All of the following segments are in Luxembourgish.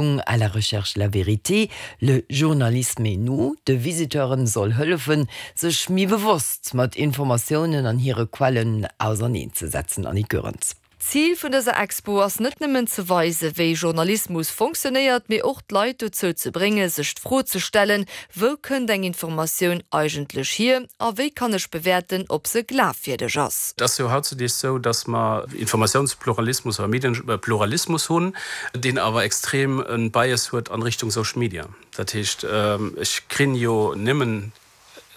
À la recherche de la vérité, le journalisme et nous, de Visiteuren soll hëllefen, sech méi bewosst mat Informatiounen an hire Quellen auserneen ze setzen. Annick Goerens. D'Zil vun dëser Expo ass net nëmmen ze weisen, wéi Journalismus fonctionnéiert, mee och d'Leit dozou ze bréngen, sech d'Fro ze stellen, Wou kënnt eng Informatioun eigentlech hier a wéi kann ech bewäerten, ob se glafwierdeg ass? Et ass jo hautzudeeg sou, datt mer Informatiounspluralismus oder Medienpluralismus hunn, deen awer extrem e Bias huet an Richtung Social Media. Dat heescht, ech krinn jo nëmmen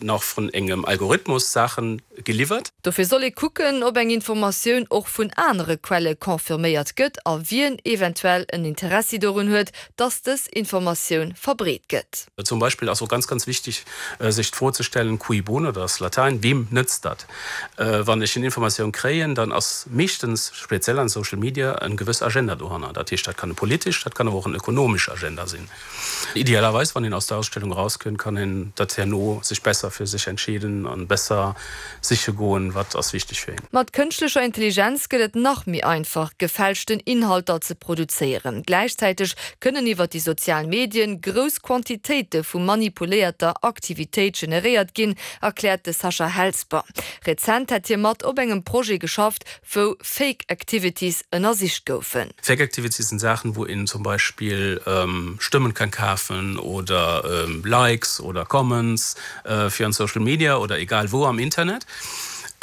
nach vun engem Algorithmus Saachen geliwwert. Dofir soll ee kucken, ob eng Informatioun och vun anere Quelle confirméiert gëtt a wien eventuell en Interessi dorun huet, dass dës Informatioun verbreet gëtt. Zum Beispill ass och ganz, ganz wichtig, sech d'Fro ze stellen, cui bono, dat ass Latäin, weem nëtzt dat? Wann ech en Informatioun kréien, dann ass meeschtens, speziell an Social Media, en gewëss Agenda dohanner. Dat heescht, dat kann e politesch, dat kann awer och en ökonomesch Agenda sinn. Idealerweis, wann een aus der Ausstellung erauskënnt, kann een dat herno sech besser fir sech entscheeden an besser siche goen, wat ass wichteg fir een. Mat kënschtlecher Intelligenz gëtt et nach méi einfach, gefälschten Inhalter ze produzéieren. Gläichzäiteg kënnen iwwer déi sozial Medien grouss Quantitéite vu manipuléierter Aktivitéit generéiert ginn, erkläert de Sacha Helsper. Rezent hätt hie mat op engem Projet geschafft, wou Fake Activities ënnersicht goufen. Fake Activities sinn Saachen, wou een zum Beispill Stëmmen kann kafen oder Likes oder Comments fir an Social Media oder egal wou am Internet.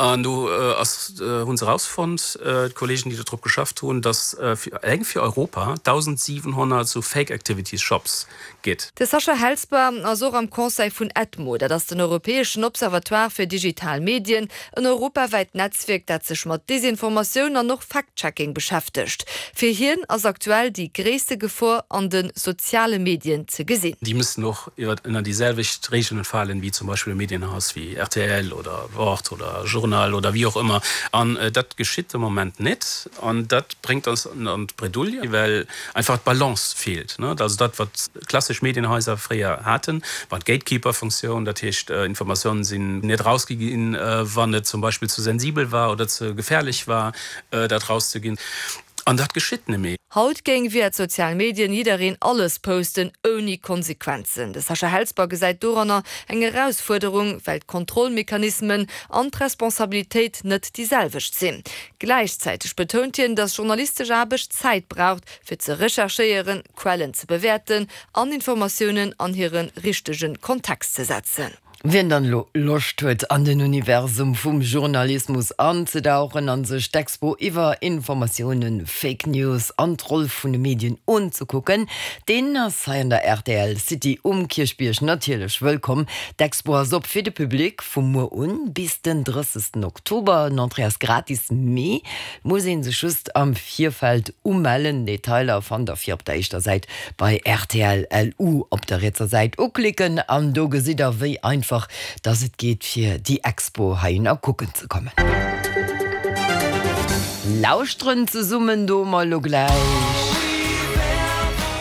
An do ass, hunn se erausfonnt, d'Kollegen déi do drop geschafft hunn, dass eleng fir Europa 1.700 sou Fake Activities Shops gitt. De Sacha Helsper ass och am Conseil vun EDMO, dat ass den europäeschen Observatoire fir digital Medien, en europawäit Netzwierk, dat sech mat Desinformatioun an och Fact-Checking beschäftegt. Fir hien ass aktuell déi gréisste Gefor an de soziale Medien ze gesinn. Déi müssen och ënner déi selwecht Regeln falen wéi zum Beispill e Medienhaus wéi rtl oder Wort oder Journal oder wéi och ëmmer. An dat geschitt de Moment net an dat bréngt eis an d'Bredouille, well einfach d'Balance feelt. Also dat, wat klassesch Medienhaiser fréier haten, war d'Gatekeeper-Funktioun. Dat heescht, Informatiounen sinn net erausgi ginn, wann et zum Beispill ze sensibel war oder ze gefährlech war, dat erauszeginn. An dat geschitt net méi. Haut géing via d'sozial Medien jiddereen alles posten, ouni Konsequenzen. De Sacha Helsper gesäit doranner eng Erausfuerderung, well d'Kontrollmechanismen an d'Responsabilitéit net déi selwecht sinn. Gläichzäiteg betount hien, datt journalistesch Aarbecht Zäit braucht, fir ze recherchéieren, Quellen ze bewäerten an Informatiounen an hire richtege Kontext ze setzen. Wien dann elo Loscht huet an den Universum vum Journalismus anzedauchen an sech d'Expo iwwer Informatiounen, Fake News an d'Roll vun de Medien unzekucken, deen ass hei an der rtl City um Kierchbierg natierlech wëllkomm. D'Expo ass op fir de Public vu muer un bis den 30 Oktober. Den Entrée ass gratis, mee et muss ee sech just am Virfeld umellen. Detailer fannt der fir op der éischter Säit bei rtl LU op der rietser Säit uklicken an do gesitt der wéi einfach dass et geet fir déi Expo heihinner kucken ze kommen. Lauschteren zesummen do mer elo gläich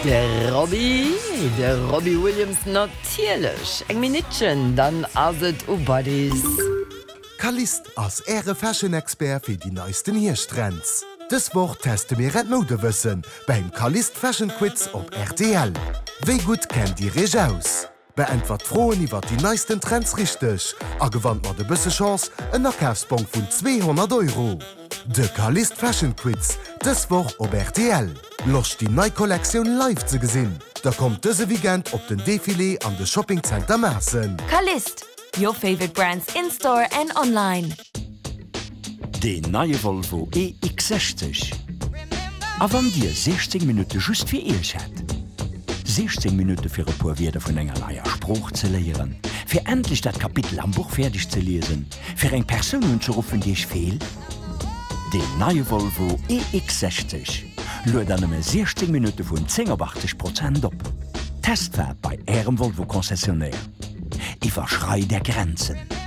de Robbie, de Robbie Williams natierlech. Eng Minuttchen, dann ass et u Buddies. Calliste ass Äre Fashion-Expert fir déi neisten Hierschttrends. Dës Woch teste mir Äert Moudewëssen beim Calliste Fashion Quiz op rtl. Wéi gutt kennt Dir Iech aus? Beäntwert d'Froen iwwert déi neisten Trends richteg a gewannt mat e bësse Chance en Akafsbong vun 200 Euro. De Calliste Fashion Quiz dës Woch op rtl. Loscht déi nei Kollektioun live ze gesinn? Da kommt dëse Weekend op den Defilé an de Shopping Center Maassen. Calliste, Your favorite brands in store and online. Deen neie Volvo EX60. A wann Dir 16 Minutte just fir Iech hätt? 16 Minutte fir e puer Wierder vun enger neier Sprooch ze léieren, fir endlech dat Kapitel am Buch fäerdeg ze liesen, fir eng Persoun unzeruffen, déi Iech feelt? Deen neie Volvo EX60 luet an nëmme 16 Minutte vun 10 op 80 Prozent op. Testfaart bei Ärem Volvo Concessionnaire. Iwwerschreit Är Grenzen!